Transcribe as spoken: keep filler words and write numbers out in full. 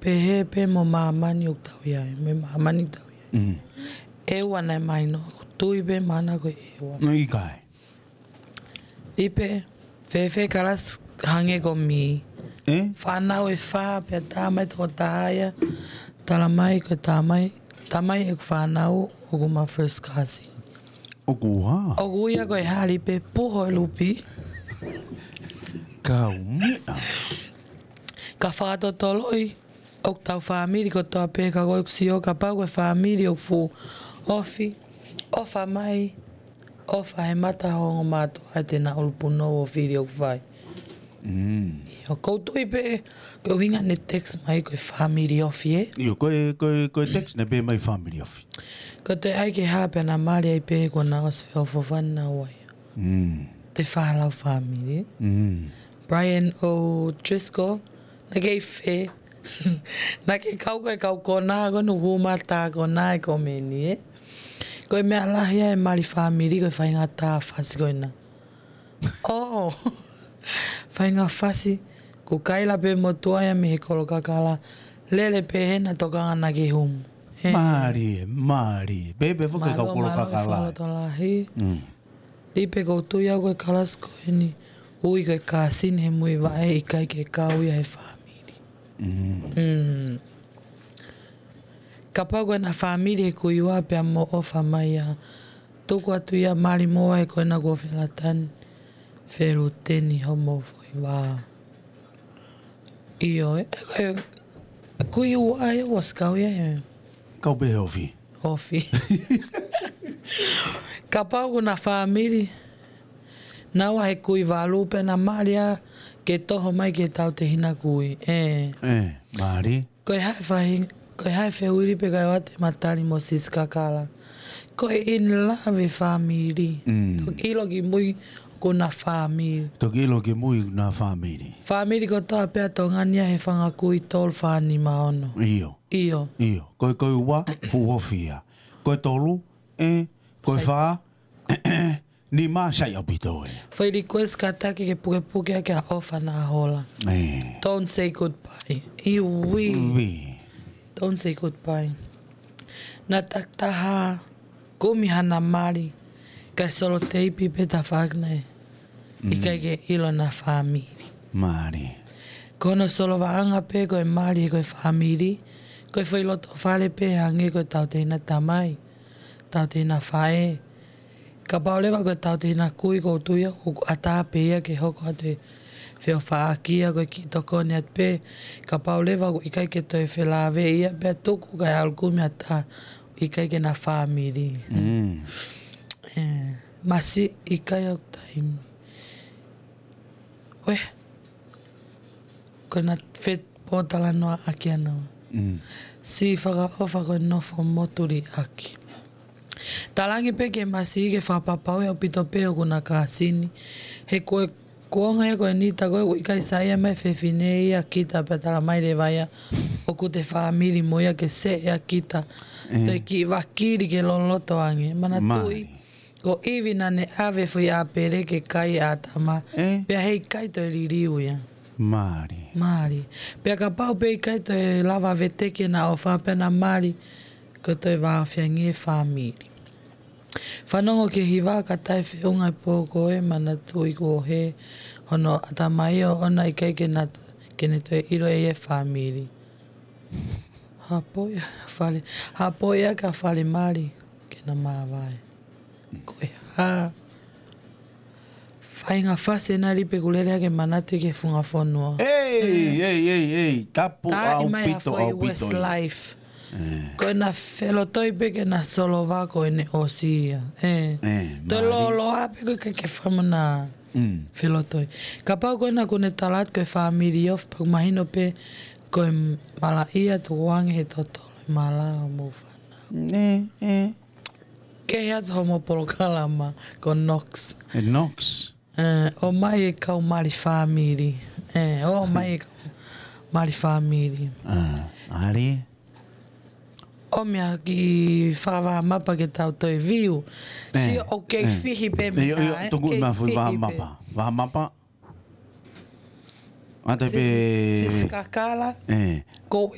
pehē pē mo māmani ʻoku tau ʻi ai, mo māmani ʻoku tau ʻi ai. Mm. ʻEua naʻe mahino, ʻoku tui pē mana ko e ʻEua. No ʻikai. Lipe, fēfē kalasi hangē ko Mī. Eh? Fānau ʻe fā, pea tā mai toko taha ia, tala mai ko e tā mai, tā mai ʻeku fānau ʻoku ma first cousin. ʻOku hā? ʻOku ui ia ko e hā Lipe, Puho e Lupi. Kau meʻa. Ka fakatotoloi, ʻoku tau fāmili kotoa pē ka ko ʻeku sio, kapau ko e fāmili ʻoku fuʻu ofi, ʻofa mai, ʻofa he mata hongo mātuʻa ʻe te na ʻulu punou ʻo fili ʻoku fai. Mm. ʻIo, ʻoku ou tui pē, ko e ʻuhinga ne text mai ko e fāmili ofi, ē? ʻIo, ko e, ko e, ko e text ne pē mai fāmili ofi. Ko e toe ʻai ke hā pea na mali ai pē ko na ʻosi feʻofoʻofani na ua ia. Mm. Te fālau fāmili. Mm. Brian O'Driscoll, naʻa ke ʻi fē. Naʻa ke kau ko e kau kona, ko nu hū mata kona e komeni, ē. Ko e meʻa lahi ʻa e mali fāmili, ko e faʻahinga tā fasi ko ena. Oh, faʻahinga fasi, ko Kaila pē mo tuai ʻa mei he kolo kakala, lele pē hena tokanga naʻa ke humu. Ē. Mali, mali. Pē, pē foki kau kolo kakala. Mālō, mālō, mālō, tokolahi. Mm. Lipe ʻoku ou tui au ko e kalasi ko eni, ui ko e kāsini he muivaʻe ʻikai ke kau ia he fāmili. Mm. Mm. Kapau ko ena fāmili he kui ua pea mo ʻofa mai ia. Tuku atu ia mali mo ai ko ena kuo felatani. Feluteni homo foʻi vā. ʻIo, e, e, kui ua ia ʻoku ʻosi kau ia he. Kau pē he ofi. Ofi. Kapau ko na fāmili, naua he kui valu pea na mali ia ke toho mai ke tau te hina kui. Ē. Ē, mali. Ko e hā e fahi, ko e hā e fehuʻi Lipe kae ʻoua te ma tali mo Sisi Kakala. Ko e in love e fāmili. Mm. Toki ʻilo ki mui ko na fāmili. Toki ʻilo ki mui ko na fāmili. Fāmili kotoa pē ʻa Tonga ni ʻa e fanga kui tolu fā nima ono. ʻIo. ʻIo. ʻIo. Ko e, ko e ua, fuʻu ofi ia. Ko e tolu, ē, ko e fā, nima sai ʻaupito ē. Foʻi request kātaki ke pukepuke ʻaki ʻa ʻOfa Nahola. Ē. Don't say goodbye. ʻIuī. ʻUī. Don't say goodbye. Na takitaha, kumi hana mali, kae soloteipi pē tafaʻaki naʻe. Mm. ʻIkai ke ʻilo na fāmili. Mali. Ko hono solovaʻanga pē ko e mali he ko e fāmili, ko e foʻi loto fale pē hangē ko e tautehina tamai, tautehina faʻē. Kapau leva ko e tautehina kui ʻoku ou tui au ʻoku ʻatā pē ia ke hoko atu e feʻofaʻaki ia ko e kiʻi tokoni atu pē. Kapau leva ʻoku ʻikai ke toe felāveʻi ia pea tuku kae ʻalu kumi ʻatā ʻikai ke na fāmili. Mm. Ē, masiʻi ʻikai au taimi. Uē, ko na fepōtalanoaʻaki ʻana. Mm. Siʻi fakaʻofa ko e nofo motuliʻaki. Talaange pē ke masiʻi ke fakapapauʻi ʻaupito pē ʻoku na kāsini. He ko e kuonga ia ko eni tā ko ē ʻoku ʻikai saiʻia mai fefine ia kita pea tala mai leva ia ʻoku te fāmili mo ia ke seʻe ʻa kita. Mm. Toe kiʻi vakili ke loloto ange. Manatuʻi. Mali. Ko ʻIvi naʻa ne ʻave foʻi ʻāpele ke kai ʻa ʻĀtama. Ē? Pea heʻikai toe liliu ia. Mali. Mali. Pea kapau pē ʻikai toe lava veteki ʻena ʻofa pea na mali. Ko e toe vāofi ange e fāmili. Fanongo ki he hiva ka taʻefeʻunga e pō ko ē manatuʻi kuo hē hono ʻatamai ʻoʻona ʻikai ke na, ke ne toe ʻilo ʻe ia e fāmili. Hapo ia fale, hapo ia ka fale mali ke na māvae. Ko e hā. Faʻahinga fasi ena Lipe ʻoku lele hake manatu ki he funga fonua. Ei, ei, ei, ei, tapu ʻaupito, ʻaupito. Westlife. Ē. Ko ena felotoi pē ke na solova ko ʻene ʻosi ia. Ē. Ē, toe mali. Lōloa pē ko e ke, ke famana. Mm. Felotoi. Kapau ko ena ʻoku ne tala atu ko e fāmili ofi pea ʻoku mahino pē ko e malaʻia tukuange he totolo e mala ʻo mou fānau. Ē, ē. Kehe atu homo polokalama ko Knox. E Knox. Ē, ʻomai e kau mali fāmili. Ē, ʻomai e kau mali fāmili. Ā, ali. ʻOmi ʻa e kiʻi fakavahamapa ke tau toe view. Ē, sio ʻoku kei fihi pē mei ʻio, ʻio, ē, tuku kei ma fui fihi pē. Vahamapa. Vahamapa. ʻAtā pē. Sisi, Sisi Kakala. Ē. Ko